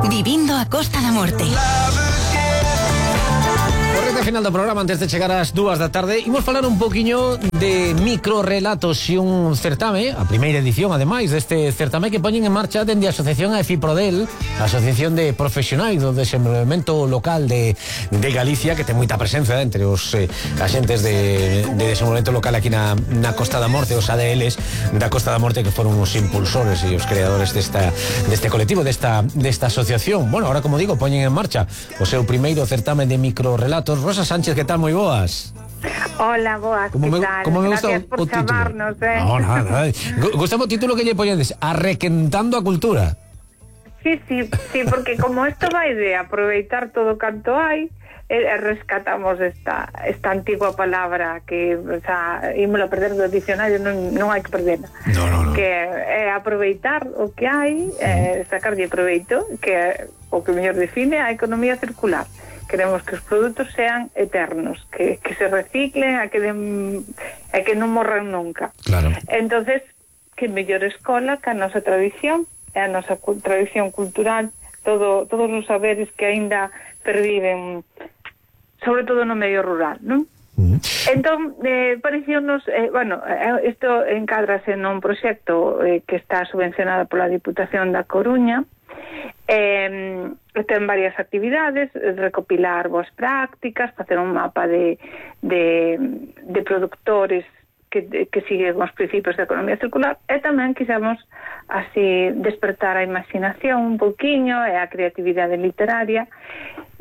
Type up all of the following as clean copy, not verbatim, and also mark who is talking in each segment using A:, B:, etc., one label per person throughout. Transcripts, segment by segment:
A: Vivindo a Costa da Morte.
B: Correcta final do programa, antes de chegar ás 2 da tarde, imos falar un poquiño de microrelatos e un certame, a primeira edición, ademais, deste certame que poñen en marcha dende a Asociación AFIPRODEL, a Asociación de Profesionais do Desenvolvemento Local de Galicia, que ten moita presenza entre os axentes de desenvolvemento local aquí na Costa da Morte, os ADLs da Costa da Morte, que foron os impulsores e os creadores deste colectivo, desta asociación. Bueno, ahora, como digo, poñen en marcha o seu primeiro certame de microrelatos. Rosa Sánchez, que tal? Moi boas.
C: Hola, boas, que tal? Gracias por chamarnos,
B: No, nada. Gustamos o título que lle poñedes, Arrequentando a Cultura.
C: Sí, porque como isto vai de aproveitar todo canto hai, rescatamos esta antigua palabra que, o sea, ímola perder do dicionario, non hai que perderla.
B: No.
C: Que é aproveitar o que hai, sacarlle proveito, que é o que mellor define a economía circular. Queremos que os produtos sean eternos, que se reciclen, e que non morran nunca.
B: Claro.
C: Entonces, que mellor escola que a nosa tradición, a nosa tradición cultural, todos os saberes que aínda perviven, sobre todo no medio rural, non? Entón, pareciónos, isto encádrase nun proxecto que está subvencionado pola Diputación da Coruña. Ten varias actividades, recopilar boas prácticas, facer un mapa de productores que siguen os principios da economía circular, e tamén quixemos así despertar a imaginación un pouquiño e a creatividade literaria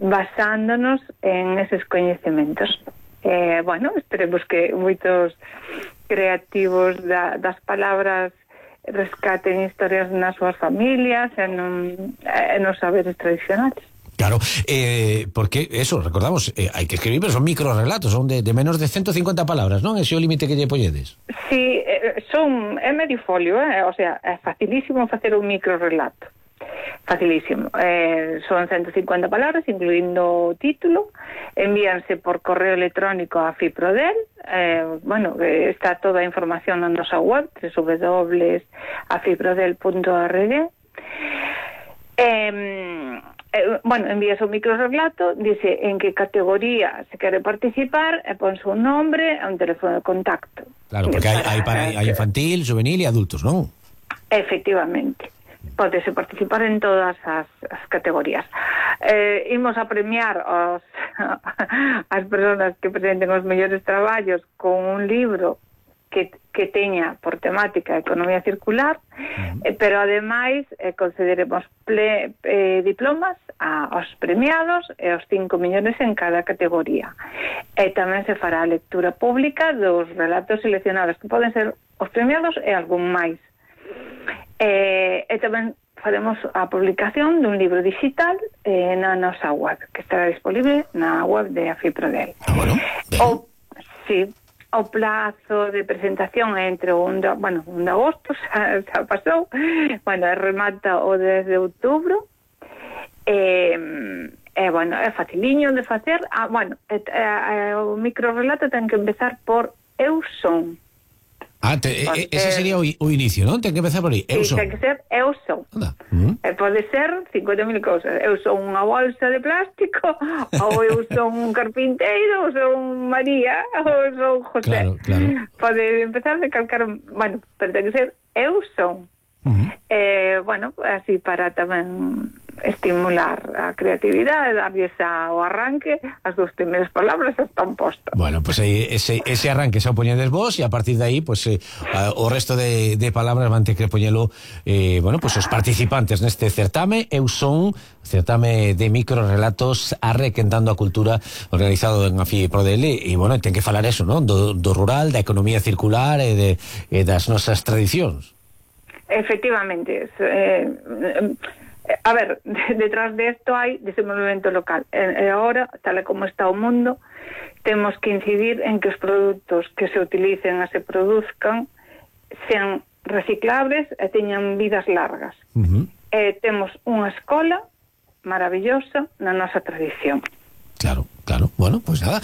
C: basándonos en eses coñecementos. Esperemos que moitos creativos das palabras rescaten historias nas súas familias e nos saberes tradicionales.
B: Claro, porque eso, recordamos, hai que escribir, pero son microrelatos, son de menos de 150 palabras, non? Ese é o límite que lle polledes.
C: Sí, é medio folio, o sea, é facilísimo facer un microrelato. Facilísimo. Son 150 palabras, incluindo o título. Envíanse por correo electrónico a FIPRODEL. Está toda a información na nosa web, www.afiprodel.org. Envías un microrelato, dice en que categoría se quere participar, e ponse un nombre e un teléfono de contacto.
B: Claro, porque hai infantil, juvenil e adultos, non?
C: Efectivamente. Podese participar en todas as categorías. Imos a premiar as persoas que presenten os mellores traballos con un libro que teña por temática a economía circular, pero ademais concederemos diplomas aos premiados e os 5 millóns en cada categoría. E tamén se fará a lectura pública dos relatos seleccionados, que poden ser os premiados e algún máis. E tamén faremos a publicación dun libro digital na nosa web, que estará disponible na web de AFIPRODEL. O plazo de presentación é entre un de agosto, xa pasou, remata o 10 de outubro, é faciliño de facer. O microrelato ten que empezar por Eu son.
B: Ese sería o inicio, non? Ten que empezar por aí.
C: Sí, ten que ser eu son. Pode ser 50.000 cousas. Eu son unha bolsa de plástico, ou eu son un carpinteiro, ou son María, ou son José.
B: Claro.
C: Pode empezar de calcar, pero ten que ser eu son. Así para tamén estimular a creatividade, darlles o arranque, as dos primeiras palabras están postas.
B: Bueno, pues ese arranque se o poñedes vos, e a partir de aí, o resto de palabras van ter que poñelo os participantes neste certame. Eu son certame de microrelatos Arrequentando a Cultura, organizado en AFIPRODEL, e ten que falar eso, non? Do rural, da economía circular e das nosas tradicións.
C: Efectivamente. Detrás de esto hai desenvolvemento local. E agora, tal como está o mundo, temos que incidir en que os produtos que se utilicen e se produzcan sean reciclables e teñan vidas largas. Temos unha escola maravillosa na nosa tradición.
B: Claro. Bueno, pues nada,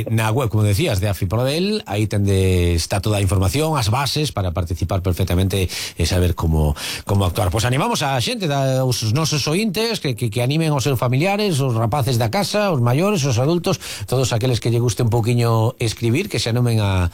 B: na web, como decías, de Afiprodel, aí está toda a información, as bases para participar perfectamente e saber como actuar. Pois animamos a xente, os nosos ointes, que animen os seus familiares, os rapaces da casa, os maiores, os adultos, todos aqueles que lle guste un pouquiño escribir, que se anomen a